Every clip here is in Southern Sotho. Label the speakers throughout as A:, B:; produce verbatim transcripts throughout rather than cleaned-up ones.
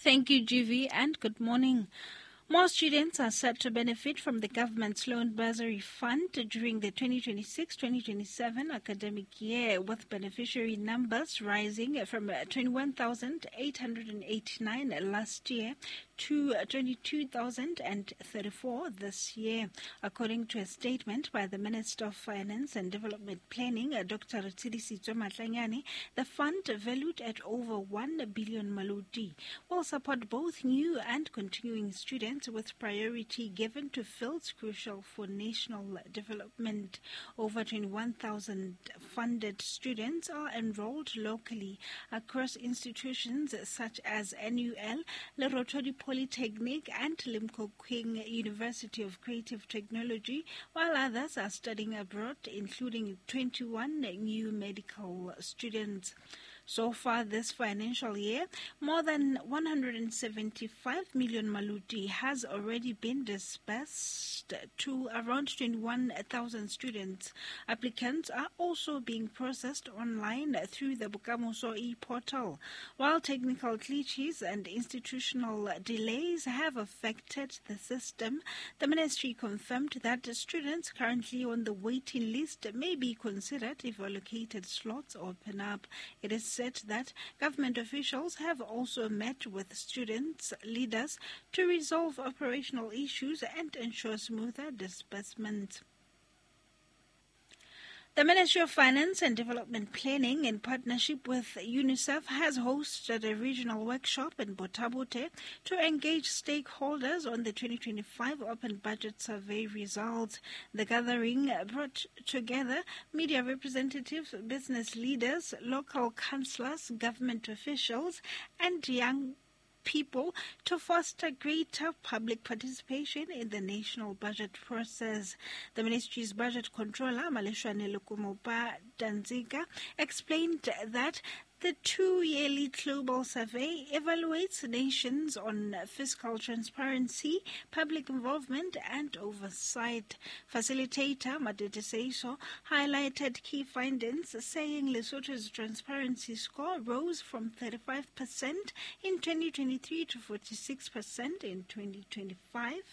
A: Thank you, G V, and good morning. More students are set to benefit from the government's loan bursary fund during the twenty twenty-six twenty twenty-seven academic year, with beneficiary numbers rising from twenty-one thousand eight hundred eighty-nine last year to twenty-two thousand thirty-four this year, according to a statement by the Minister of Finance and Development Planning, Doctor Retšelisitsoe Matlanyane. The fund, valued at over one billion maloti, will support both new and continuing students, with priority given to fields crucial for national development. Over twenty-one thousand funded students are enrolled locally across institutions such as N U L, Lerothodi Polytechnic and Limkokwing University of Creative Technology, while others are studying abroad, including twenty-one new medical students. So far this financial year, more than one hundred seventy-five million maloti has already been disbursed to around twenty-one thousand students. Applicants are also being processed online through the Bokamoso e-portal. While technical glitches and institutional delays have affected the system, the ministry confirmed that students currently on the waiting list may be considered if allocated slots open up. It is said that government officials have also met with students' leaders to resolve operational issues and ensure smoother disbursement. The Ministry of Finance and Development Planning, in partnership with UNICEF, has hosted a regional workshop in Botha-Bothe to engage stakeholders on the twenty twenty-five Open Budget Survey results. The gathering brought together media representatives, business leaders, local councillors, government officials, and young people to foster greater public participation in the national budget process. The ministry's budget controller, Maleshwane Lekomopa Danziga, explained that the two-yearly global survey evaluates nations on fiscal transparency, public involvement, and oversight. Facilitator Madete Seiso highlighted key findings, saying Lesotho's transparency score rose from thirty-five percent in twenty twenty-three to forty-six percent in twenty twenty-five.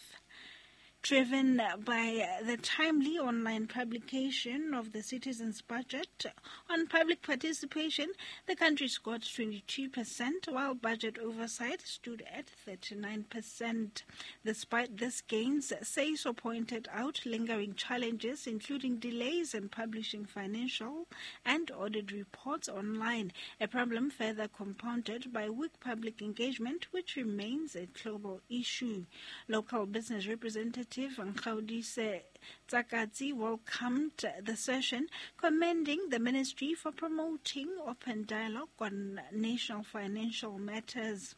A: Driven by the timely online publication of the Citizens' Budget on public participation, the country scored twenty-two percent, while budget oversight stood at thirty-nine percent. Despite these gains, Seiso pointed out lingering challenges, including delays in publishing financial and audit reports online, a problem further compounded by weak public engagement, which remains a global issue. Local business representatives Nkgaudise Tsakatsi welcomed the session, commending the ministry for promoting open dialogue on national financial matters.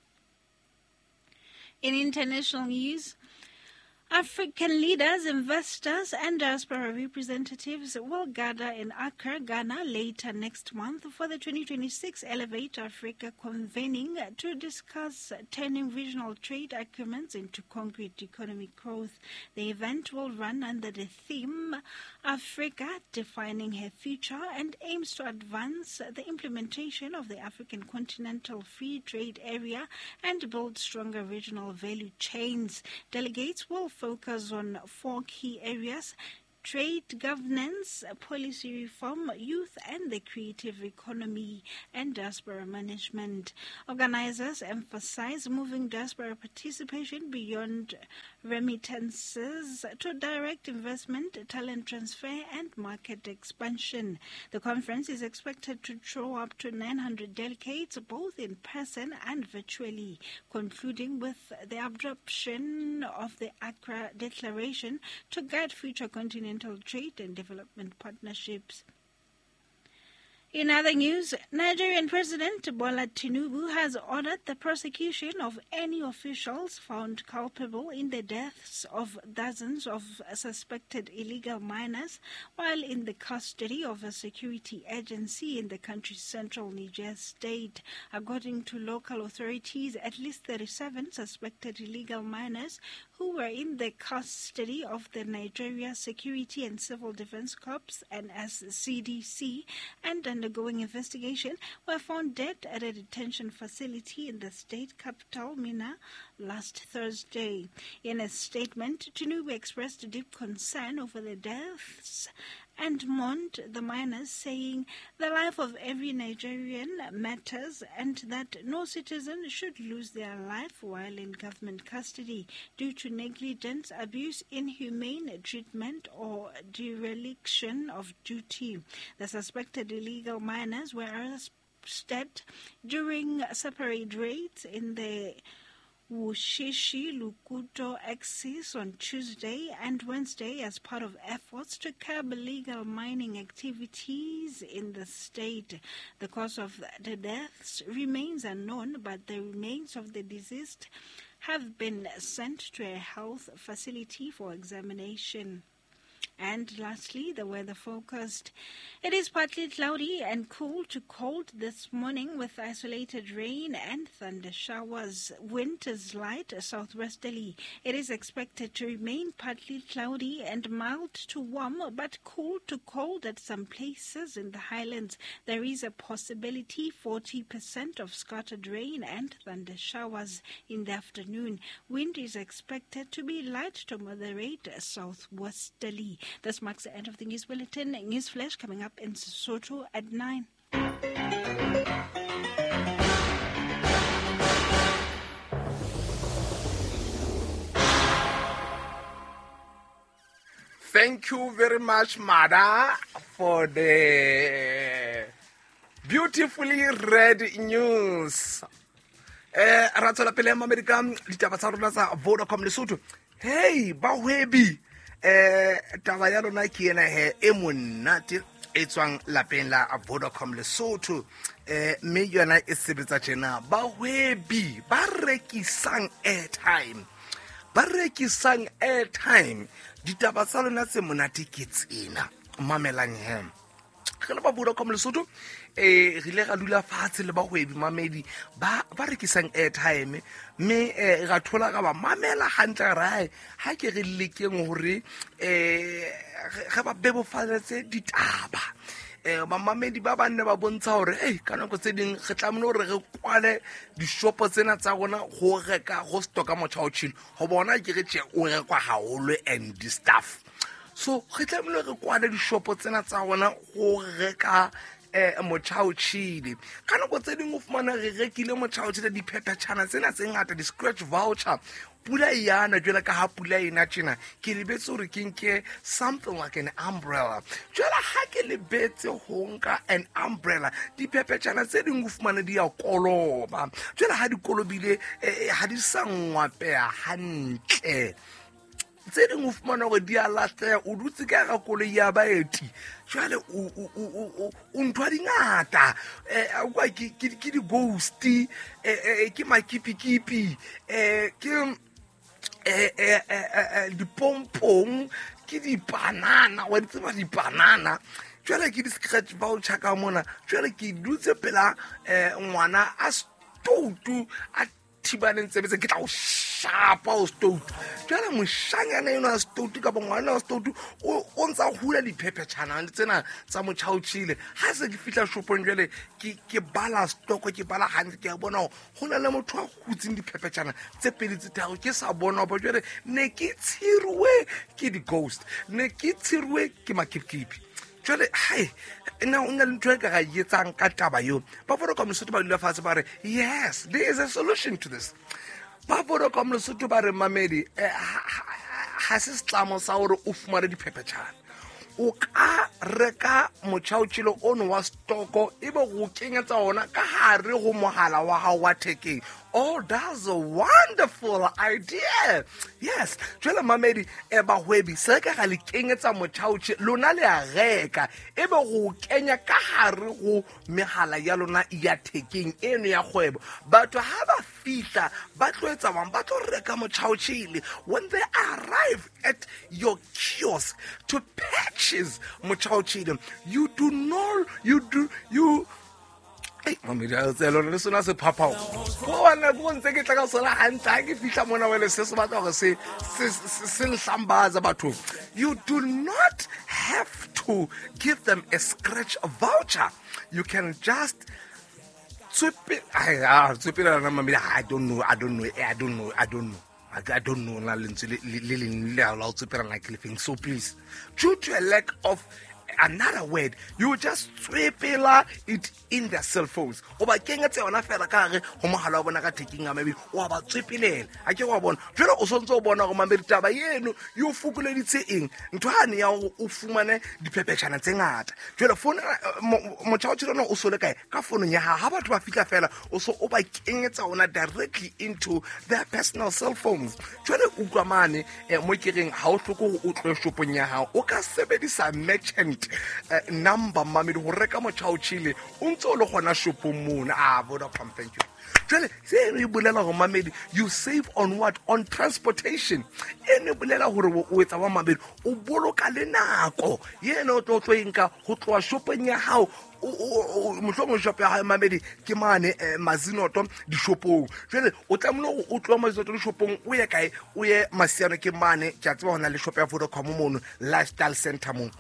A: In international news, African leaders, investors and diaspora representatives will gather in Accra, Ghana later next month for the twenty twenty-six Elevate Africa convening to discuss turning regional trade agreements into concrete economic growth. The event will run under the theme Africa Defining Her Future and aims to advance the implementation of the African Continental Free Trade Area and build stronger regional value chains. Delegates will focus on four key areas: trade governance, policy reform, youth and the creative economy, and diaspora management. Organizers emphasize moving diaspora participation beyond remittances to direct investment, talent transfer, and market expansion. The conference is expected to draw up to nine hundred delegates, both in person and virtually, concluding with the adoption of the Accra Declaration to guide future continental trade and development partnerships. In other news, Nigerian President Bola Tinubu has ordered the prosecution of any officials found culpable in the deaths of dozens of suspected illegal miners while in the custody of a security agency in the country's central Niger state. According to local authorities, at least thirty-seven suspected illegal miners who were in the custody of the Nigeria Security and Civil Defense Corps N S C D C and undergoing investigation, were found dead at a detention facility in the state capital, Minna, last Thursday. In a statement, Tinubu expressed deep concern over the deaths and mourned the miners, saying the life of every Nigerian matters and that no citizen should lose their life while in government custody due to negligence, abuse, inhumane treatment or dereliction of duty. The suspected illegal miners were arrested during separate raids in the Wushishi Lukuto axis on Tuesday and Wednesday as part of efforts to curb illegal mining activities in the state. The cause of the deaths remains unknown, but the remains of the deceased have been sent to a health facility for examination. And lastly, the weather forecast. It is partly cloudy and cool to cold this morning with isolated rain and thunder showers. Wind is light southwesterly. It is expected to remain partly cloudy and mild to warm, but cool to cold at some places in the highlands. There is a possibility forty percent of scattered rain and thunder showers in the afternoon. Wind is expected to be light to moderate southwesterly. This marks the end of the news bulletin. News Flash coming up in Sesotho at nine.
B: Thank you very much, Mada, for the beautifully read news. Eh, ra tswela pele America ditaba tsa rona tsa Vodacom Lesotho. Hey, bahwebi. Eh, taba ya lona ke ena he e monate e tswang lapeng la Vodacom Lesotho. Eh, mme yona e sebetsa tjena. Bahwebi ba rekisang airtime. Ba rekisang airtime. Ditaba tsa lona tse monate ke tsena. Mamelang he. Re le ba Vodacom Lesotho, eh re ile ra dula fatshe le bahwebi mamedi ba ba rekisang airtime, mme eh ra thola ka ba mamela hantle ra ha ke re lekeng hore eh re ba bebofaletse ditaba. Eh mamedi ba banne ba bontsha hore eh ka nako tse ding re tlamehile hore re kwale dishopo tsena tsa rona ho reka go stocka motjha o tjhile ho bona ke re tje o rekwa haholo and the stuff. So re tlamehile re kwale dishopo tsena tsa rona ho reka eh motjha o tjhile. Ka nako tse ding o fumana re rekile motjha o tjhile diphephetjhana tsena tse ngata di scratch voucher. Pula e yana jwale ka ha pula ena tjena ke lebetse hore ke nke something like an umbrella. Jwale ha ke lebetse ho nka an umbrella, diphephetjhana tse ding o fumana di ya koloba. Jwale ha di kolobile ha di sa ngwapeha hantle. Tse ding o fumana hore di a lahleha, o dutse ka hara koloi ya baeti. Jwale o o o o ntho di ngata. Eh kwa ke ke di ghost, eh ke makipikipi, eh ke eh eh eh dipompong, ke dipanana, wa di tseba dipanana. Jwale ke di scratch voucher ka mona. Jwale ke dutse pela eh ngwana a stoutu a thibaneng tsebetse ke tla o shapa o stoutu. Jwale moshanyana eno a stoutu kapa ngwana wa stoutu o o ntsa hula diphephetjhana tsena tsa motjha o tjhile. Ha se ke fihla shopong jwale ke ke bala stock, ke bala hantle, ke a bona hore ho na le motho a hutseng diphephetjhana tse pedi tse tharo ke sa bona hoba jwale ne ke tshiruwe ke di-ghost, ne ke tshiruwe ke makipikipi. Jwale hai nna o na le ntho e ka ra etsang ka taba eo. Ba Vodacom Lesotho ba dula fatshe ba re yes, there is a solution to this. Ba Vodacom Lesotho ba re mamedi ha se setlamo sa hore o fumane diphephetjhana. O ka reka motjha o tjhile ono wa stoko ebe go kenyetsa ona ka hare ho mohala wa hao wa thekeng. Oh, that's a wonderful idea. Yes, jwale mamedi e bahwebi se ka ga le kenyetsa motjha o tjhile lona le a reka ebe go kenya ka hare ho mehala ya lona ya thekeng eno ya kgwebo. Batho ha ba fihla ba tlo etsa bang ba tlo reka motjha o tjhile. When they arrive at your kiosk to purchase motjha o tjhile, you do not you do you Mamedi a tse lona le sona se phaphao ko bana ko ntse ke tla ka sona hantle ha ke fihla mona wele se se batla hore se se se nhlambaza batho. You do not have to give them a scratch voucher. You can just I I don't know I don't know I don't know I don't know I don't know na lentswe le leng le la o tswepela like lefeng. So please, due to a lack of another word, you just tswepela it in their cell phones. O ba kenyetse yona fela ka hare ho mohala wa bona ka thekeng ya mabedi, wa ba tswepelela. Ha ke wa bona jwale o sontse o bona hore mamedi taba eno e o fokoleditse eng ntho hane ya hore o fumane diphephetjhana tse ngata. Jwale phone motjha o tjhela o sole kae ka founong ya hao, ha batho ba fihla fela o so o ba kenyetsa ona directly into their personal cell phones. Jwale utlwa mane mo ke reng ha o hloke hore o tlohe shopong ya hao, o ka sebedisa merchant Uh, number mamedi ho reka motjha o tjhele o ntse o le gona shopong mona. Ah, Vodacom, thank you. Jwale se e bolela hore mamedi you save on what? On transportation. Ene bolela hore o etsa wa mamedi o boloka le nako yena o tlo tlo enka ho tloha shopong ya hao. Mohlomong shop ya hae mamedi ke mane Mazinoto dishopong. Jwale o tlamehile hore o tloha Mazinoto dishopong o ye kae? O ye Masiano ke mane, ke a tseba hona le shop ya Vodacom mono Lifestyle Center mono.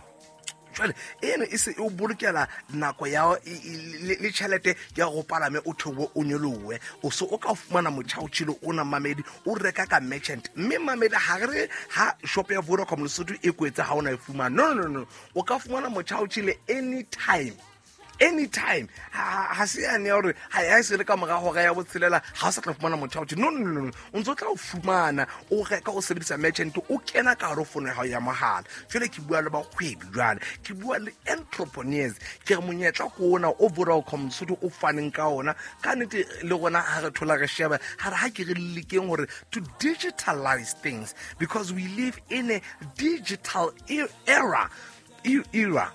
B: Jwale eno e se o bolokela nako ya le tjhelete ya go palame o theohe o nyolohe, o so o ka fumana motjha o tjhele ona mamedi o reka ka merchant. Mme mamedi ha re ha shop ya Vodacom Lesotho e kwetse ha ona e fumana, no no no, o ka fumana motjha o tjhele anytime. Anytime. Ha se yane ya hore ha ya se le ka mora hora ya botshelela ha o sa tla fumana motjha o tjhele. No no no, o ntso tla o fumana o reka o sebedisa merchant o kena ka hare ho fono ya hao ya mohala. Jwale ke bua le bakgwebi, jwale ke bua le entrepreneurs, ke re monyetla ke ona o Vodacom Lesotho o faneng ka ona. Ka nnete le rona ha re thola re sheba ha re ha ke re lekeng hore to digitalize things because we live in a digital era era era.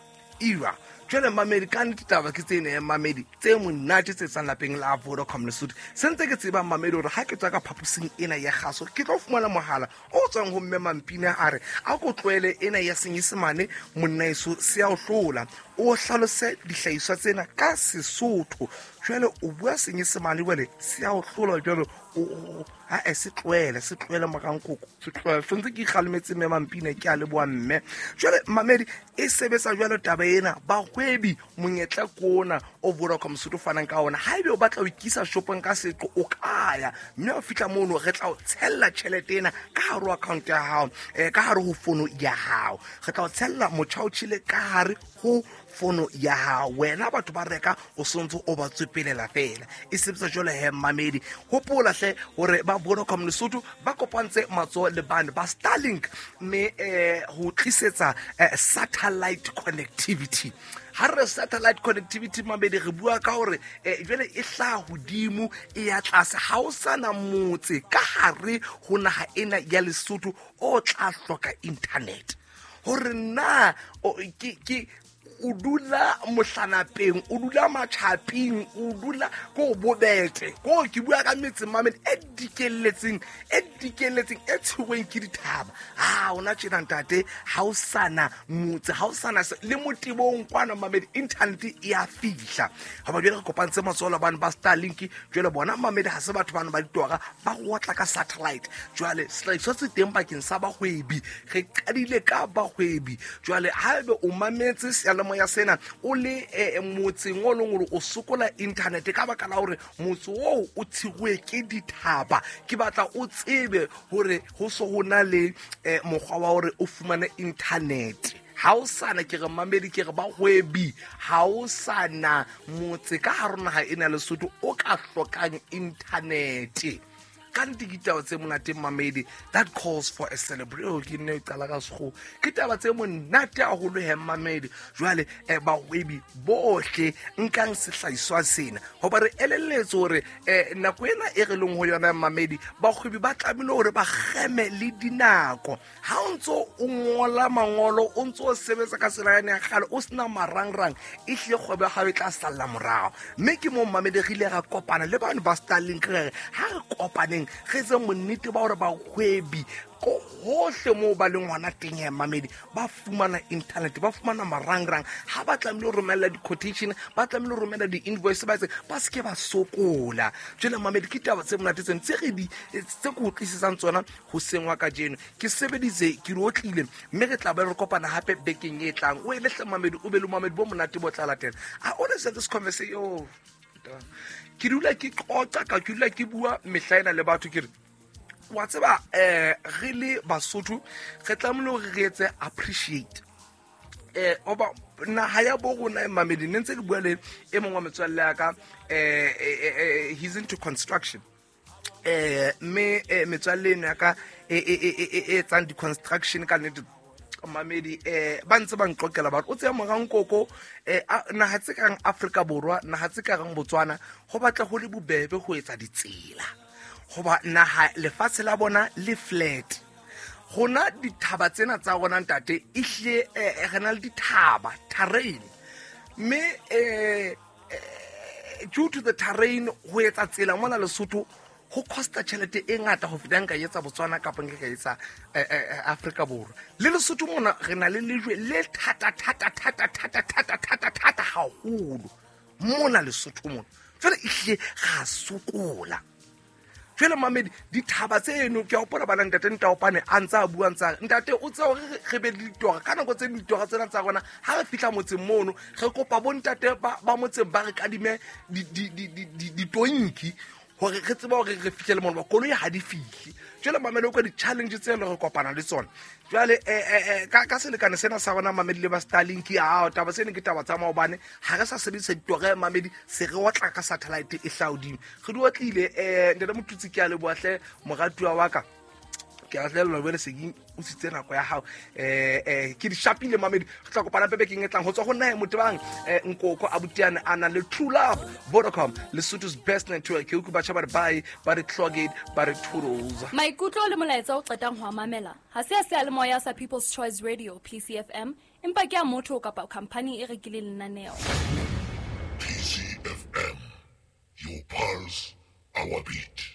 B: Jwale mamedi ka nnete taba ke tsena ya mamedi tse monate tse tsang lapeng la Vodacom Lesotho. Se ntse ke tseba mamedi hore ha ke tswa ka phaposing ena ya kgaso ke tlo fumana mohala o tswang ho mme Mampina a re a ko tlohele ena ya Senyesemane monna eso se ya o hlola, o hlalose dihlahiswa tsena ka Sesotho. Jwale o bua Senyesemane jwale se ya o hlola, jwale o ha e se tlohele se tlohele morankoko se tlohele. So ntse ke ikgalemetse mme Mampina, ke a leboha mme. Jwale mamedi e sebetsa jwalo taba ena bahwebi monyetla ke ona o Vodacom Lesotho fanang ka ona. Haebe o batla ho ikisa shopong ka seqo o ka ya, mme o fihla mono re tla o tshella tjhelete ena ka hare ho account ya hao, eh ka hare ho fono ya hao. Re tla o tshella motjha o tjhele ka hare ho fono ya hao. Wena batho ba reka o sontse o ba tswepelela fela. E sebetsa jwalo he mamedi. Hopola hle hore ba Vodacom Lesotho ba kopantse matsoho le bane ba Starlink mme eh ho tlisetsa satellite connectivity. Ha re satellite connectivity mamedi re bua ka hore jwale e hlaha hodimo e ya tlase, ha o sana motse ka hare ho naha ena ya Lesotho o tla hloka internet. Hore na ke ke o dula mohlanapeng, o dula matjhaping, o dula ko bobete, ko ke bua ka metse mamedi e dikelletseng e dikelletseng e tshwerweng ke dithaba. Ha ona tjena ntate, ha o sana motse, ha o sana le motebong kwana mamedi internet e a fihla. Ha ba jwale re kopantse matsoho le bana ba Starlink, jwale bona mamedi ha se batho bana ba ditora ba go tla ka satellite. Jwale sehlahiswa se teng bakeng sa bahwebi, re qadile ka bahwebi. Jwale haebe o mametse seyalemoya sena o le motseng o leng hore o sokola internet ka baka la hore motse oo o tshiruwe ke dithaba, ke batla o tsebe hore ho so ho na le mokgwa wa hore o fumane internet. Ha o sana ke re mamedi ke re bahwebi, ha o sana motse ka hare naha ena Lesotho o ka hlokang internet. Ka nnete ke ditaba tse monate mamedi, that calls for a celebration. Ke nne qala ka sekgowa, ke taba tse monate haholo he mamedi. Jwale eh, bahwebi bohle nkang sehlahiswa sena hoba re elelletse hore eh, nako ena e re leng ho yona mamedi, bahwebi ba tlamehile hore ba kgeme le dinako. Ha o ntso o ngola mangolo, o ntso o sebetsa ka tsela yane ya kgale o sena marangrang, e hlile kgwebo ya hao e tla salla morao. Mme ke moo mamedi re ile ra kopana le bano ba Starlink, re re ha re kopaneng kopaneng re etse monnete ba hore bahwebi ko hohle moo ba leng hona teng ya mamedi ba fumana internet, ba fumana marangrang. Ha ba tlamehile ho romella di-quotation, ba tlamehile ho romella di-invoice, ba etse ba se ke ba sokola. Jwale mamedi ke taba tse monate tseno tse re di tse ke utlwisisang tsona hoseng wa kajeno. Ke sebeditse, ke re otlile, mme re tla be re kopana hape bekeng e tlang. O ele hle mamedi, o be le mamedi bo monate bo tla latela. I always have this conversation. Oh, ke dula ke qoqa ka ke dula ke bua mehla ena le batho ke re wa tseba eh re le Basotho re tlamehile hore re etse appreciate eh oba naha ya bo rona e mamedi. Ne ntse ke bua le e mong wa metswalle ya ka, eh he's into construction, eh mme metswalle eno ya ka e e etsang di-construction ka nnete mamedi eh ba ntse ba nqokela ba re o tseya morankoko eh naha tse kang Afrika Borwa, naha tse kang Botswana, ho batla ho le bobebe ho etsa ditsela hoba naha lefatshe la bona le flat. Rona dithaba tsena tsa rona ntate ehlile re na le dithaba terrain, mme eh due to the terrain ho etsa tsela mona Lesotho ho costa tjhelete e ngata ho feta nka etsa Botswana kapa nka etsa Afrika Borwa. Le Lesotho mona re na le lejwe le thata thata thata thata thata thata thata haholo mona Lesotho mona. Jwale ehlile ra sokola. Jwale mamedi dithaba tseno ke a hopola bana ntate Ntaopane a ntse a bua ntsa ntate o tseba hore re be le ditora ka nako tse ditora tsena tsa rona ha re fihla motseng mono re kopa bo ntate ba ba motseng ba re kadime di di di ditonki hore re tsebe hore re fihlele mono, ba koloi ha di fihle. Jwale mamedi o ka di-challenge tse le re kopana le tsona. Jwale eh ka ka selekane sena sa rona mamedi le ba Starlink, a taba tsena ke taba tsa maobane, ha re sa sebedisa ditore mamedi, se re otla ka satellite e hlaodimo. Re di otlile eh ntate Motutsi, ke a leboha hle moratuwa wa ka. Ke a tlelwa bone se ke o sitse nako ya hao eh eh ke di shapile mamedi. Re tla kopana pepe keng e tlang ho tswa ho nna e motebang eh Nkoko Abutiane a nang le True Love, Vodacom, Lesotho's best network. Ke utlwa batjha ba re bye, ba re clogged, ba re toodles.
C: Maikutlo le molaetsa o qetang ho mamela ha se a seyalemoya sa People's Choice Radio P C F M, empa ke a motho kapa company e rekileng lenaneo.
D: P C F M, your pulse, our beat.